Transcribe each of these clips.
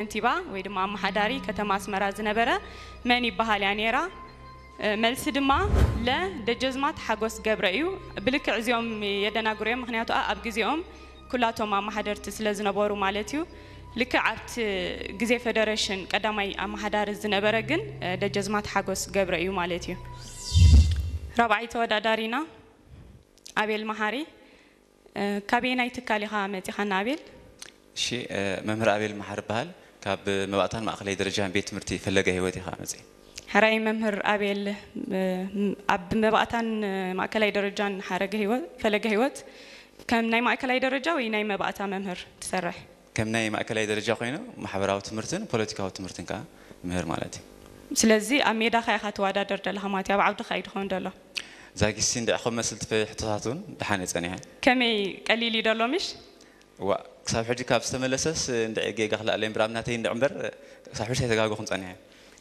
ከንቲባ ወይ ድማ ኣመሓዳሪ ከተማ ኣስመራ ዝነበረ መን ይበሃል እያ ነይራ? እ፣ መልሲ ድማ ለ ደጀዝማት ሓጎስ ገብረ እዩ። ብልክዕ እዚኦም የደናግሩ እዮም፣ ምኽንያቱ ኣብ ግዜኦም ኩላቶም ኣመሓደርቲ ስለ ዝነበሩ ማለት እዩ። ልክዕ ኣብቲ ግዜ ፌደሬሽን ቀዳማይ ኣመሓዳሪ ዝነበረ ግን፣ እ፣ ደጀዝማት ሓጎስ ገብረ እዩ ማለት እዩ። ራብዓይ ተወዳዳሪና ኣቤል መሓሪ። እ፣ ካበየናይ ትካል ኢኻ መጺኻና ኣቤል? እሺ፣ እ፣ መምህር ኣቤል መሓሪ እበሃል። ካብ መባእታን ማእከላይ ደረጃን ቤት ትምህርቲ ፈለገ ህይወት ኢኻ መጺእ። ሕራይ መምህር ኣቤል፣ እ፣ ኣብ መባእታን ማእከላይ ደረጃን ሓረገ ህይወት፣ ፈለገ ህይወት፣ ከም ናይ ማእከላይ ደረጃ ወይ ናይ መባእታ መምህር ትሰርሕ? ከም ናይ ማእከላይ ደረጃ ኮይኑ ማሕበራዊ ትምህርትን ፖለቲካዊ ትምህርትን ከኣ ምህር ማለት እዩ። ስለዚ ኣብ ሜዳኻ ኢኻ ትወዳደር ዘለኻ ማለት እዩ፣ ኣብ ዓውድኻ እዩ ድኸውን ዘሎ። ዛጊሲ እንድዒ ከም መስል ትፈ-፣ ሕቶታት እውን ደሓን እየ ጸኒሐ። ከመይ ቀሊል እዩ ደሎ ምሽ? ዋ፣ ክሳብ ሕጂ ካብ ዝተመለሰስ እንድዒ ጌጋ ክልኣለ እምበር ኣብ ናተይ እንድዒ እምበር ክሳብ ሕጂ ኣይተጋገኹን ጸኒሐ።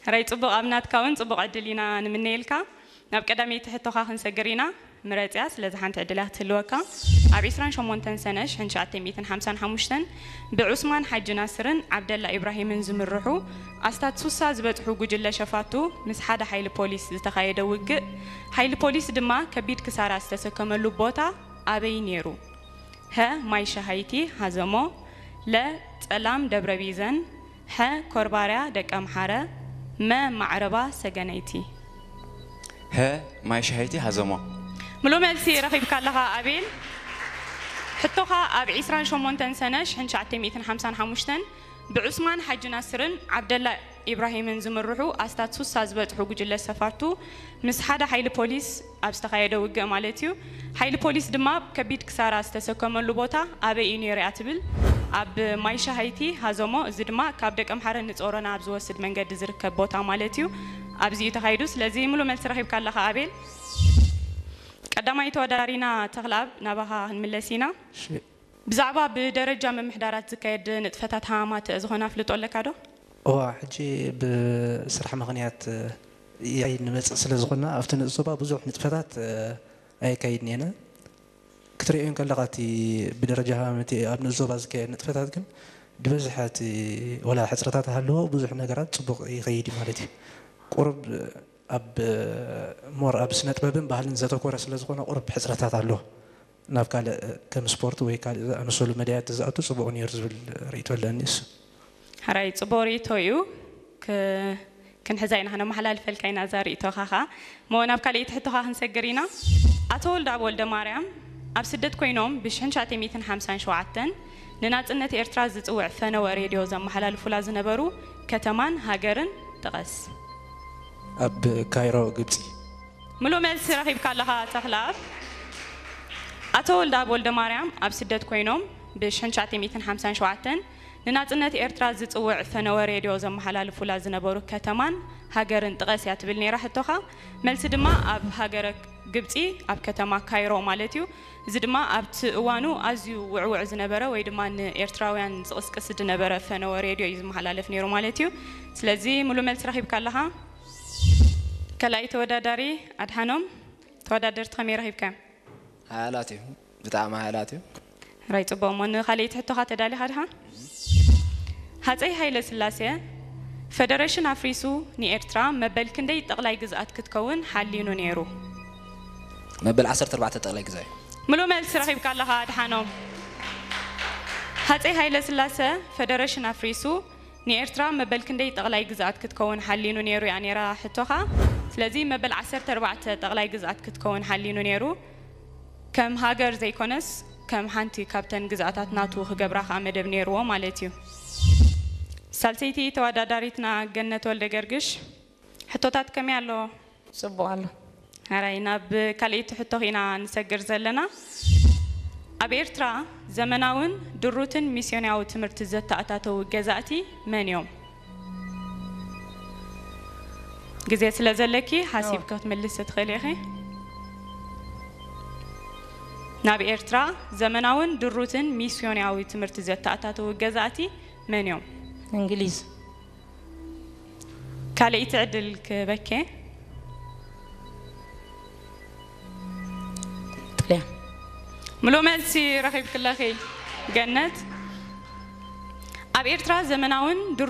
ሕራይ ጽቡቕ፣ ኣብ ናትካ እውን ጽቡቕ ዕድል ኢና ንምነየልካ። ናብ ቀዳመይቲ ሕቶኻ ክንሰግር ኢና። ምረጽያ፣ ስለዚ ሓንቲ ዕድል እያ ክትህልወካ። ኣብ ዒስራን ሸሞንተን ሰነ ሽሕን ትሽዓተ ሚእትን ሓምሳን ሓሙሽተን ብዑስማን ሓጂ ናስርን ዓብደላ ኢብራሂምን ዝምርሑ ኣስታት ሱሳ ዝበጽሑ ጉጅለ ሸፋቱ ምስ ሓደ ሓይሊ ፖሊስ ዝተኻየደ ውግእ፣ ሓይሊ ፖሊስ ድማ ከቢድ ክሳራ ዝተሰከመሉ ቦታ ኣበይ ነይሩ? ሀ፣ ማይ ሸሃይቲ ሃዘሞ፣ ለ፣ ጸላም ደብረ ቢዘን፣ ሐ፣ ኮርባርያ ደቀምሓረ፣ መ፣ ማዕረባ ሰገነይቲ። ሀ፣ ማይ ሸሃይቲ ሃዘሞ። ምሉእ መልሲ ረኺብካ ኣለኻ ኣቤል። ሕቶኻ ኣብ ዒስራን ሸሞንተን ሰነ ሽሕን ትሽዓተ ሚእትን ሓምሳን ሓሙሽተን ብዑስማን ሓጂ ናስርን ዓብደላ ኢብራሂምን ዝምርሑ ኣስታት ሱሳ ዝበጽሑ ጉጅለ ሰፋቱ ምስ ሓደ ሓይሊ ፖሊስ ኣብ ዝተኻየደ ውግእ ማለት እዩ። ሓይሊ ፖሊስ ድማ ከቢድ ክሳራ ዝተሰከመሉ ቦታ ኣበይ እዩ ነይሩ እያ ትብል። ኣብ ማይ ሸሃይቲ ሃዘሞ፣ እዚ ድማ ካብ ደቀምሓረ ንጾሮና ኣብ ዝወስድ መንገዲ ዝርከብ ቦታ ማለት እዩ። ኣብዚ እዩ ተኻይዱ። ስለዚ ምሉእ መልሲ ረኺብካ ኣለኻ ኣቤል። ቀዳማይ ተወዳዳሪና ተኽለኣብ ናባኻ ክንምለስ ኢና። እሺ። ብዛዕባ ብደረጃ ምምሕዳራት ዝካየድ ንጥፈታት ሃማማት ዝኾነ ኣፍልጦ ኣለካ ዶ? እዋ፣ ሕጂ ብስራሕ ምኽንያት እየ ንመጽእ ስለ ዝኾንና ኣብቲ ንኡስ ዞባ ብዙሕ ንጥፈታት፣ እ፣ ኣየካይድን እየን። ክትርእዮ እንከለኻ እቲ ብደረጃ ሃማማት ኣብ ንኡስ ዞባ ዝካየድ ንጥፈታት ግን ብበዝሒ እቲ ወላ ሕጽረታት ሃለዎ ብዙሕ ነገራት ጽቡቕ ይኸይድ እዩ ማለት እዩ። ቁሩብ ኣብ ሞር ኣብ ስነ ጥበብን ባህልን ዘተኮረ ስለ ዝኾነ ቁሩብ ሕጽረታት ኣሎ። ናብ ካልእ ከም ስፖርት ወይ ካልእ ዝኣመሰሉ መዳያት ዝኣቱ ጽቡቕ ነይሩ ዝብል ርእይቶ ኣለኒ። እሱ ሕራይ ጽቡቕ ርእይቶ እዩ። ክ-፣ ክንሕዛ ኢና፣ ክነመሓላልፈልካ ኢና እዛ ርእይቶኻ ኸኣ። እሞ ናብ ካልኣይቲ ሕቶኻ ክንሰግር ኢና። ኣቶ ወልደኣብ ወልደማርያም ኣብ ስደት ኮይኖም ብሽሕን ትሽዓተ ሚእትን ሓምሳን ሸውዓተን ንናጽነት ኤርትራ ዝጽውዕ ፈነወ ሬድዮ ዘመሓላልፉላ ዝነበሩ ከተማን ሃገርን ጥቐስ። ኣብ ካይሮ ግብጺ። ምሉእ መልሲ ረኺብካ ኣለኻ ተኽለኣብ። ኣቶ ወልደኣብ ወልደማርያም ኣብ ስደት ኮይኖም ብሽሕን ትሽዓተ ሚእትን ሓምሳን ሸውዓተን ንናጽነት ኤርትራ ዝጽውዕ ፈነወ ሬድዮ ዘመሓላልፉላ ዝነበሩ ከተማን ሃገርን ጥቐስ እያ ትብል ነይራ ሕቶኻ። መልሲ ድማ ኣብ ሃገረ ግብጺ ኣብ ከተማ ካይሮ ማለት እዩ። እዚ ድማ ኣብቲ እዋኑ ኣዝዩ ውዕውዕ ዝነበረ ወይ ድማ ንኤርትራውያን ዝቕስቅስ ዝነበረ ፈነወ ሬድዮ እዩ ዝመሓላለፍ ነይሩ ማለት እዩ። ስለዚ ምሉእ መልሲ ረኺብካ ኣለኻ። ካልኣይ ተወዳዳሪ ኣድሓኖም፣ ተወዳደርቲ ከመይ ረኺብካዮም? ሓያላት እዮም፣ ብጣዕሚ ሓያላት እዮም። ራይ ጽቡቕ። እሞ ንኻልኣይቲ ሕቶኻ ተዳሊኻ ድኻ? ሃጸይ ሃይለ ስላሴ ፈደረሽን ኣፍሪሱ ንኤርትራ መበል ክንደይ ጠቕላይ ግዝኣት ክትከውን ሓሊኑ ነይሩ? መበል ዓሰርተ ኣርባዕተ ጠቕላይ ግዝኣት እዩ። ምሉእ መልሲ ረኺብካ ኣለኻ ኣድሓኖም። ሃጸይ ሃይለ ስላሰ ፈደረሽን ኣፍሪሱ ንኤርትራ መበል ክንደይ ጠቕላይ ግዝኣት ክትከውን ሓሊኑ ነይሩ እያ ነይራ ሕቶኻ። ስለዚ መበል ዓሰርተ ኣርባዕተ ጠቕላይ ግዝኣት ክትከውን ሓሊኑ ነይሩ። ከም ሃገር ዘይኮነስ ከም ሓንቲ ካብተን ግዝኣታት ናቱ ክገብራ ከኣ መደብ ነይርዎ ማለት እዩ። ሳልሰይቲ ተወዳዳሪትና ገነት ወልደ ገርግሽ፣ ሕቶታት ከመይ ኣሎ? ጽቡቕ ኣሎ። ሕራይ ናብ ካልኣይቲ ሕቶ ኢና ንሰግር ዘለና። ኣብ ኤርትራ ዘመናውን ድሩትን ሚስዮናዊ ትምህርቲ ዘተኣታተዉ ገዛእቲ መን እዮም? ግዜ ስለ ዘለኪ ሓሲብኪ ክትምልሲ ትኽእሊ ኢኺ። ናብ ኤርትራ ዘመናውን ድሩትን ሚስዮናዊ ትምህርቲ ዘተኣታተዉ ገዛእቲ መን እዮም? እንግሊዝ። ካልኣይቲ ዕድል ክበኬ። ጥልያን። ምሉእ መልሲ ረኺብክለኺ ገነት። ኣብ ኤርትራ ዘመናውን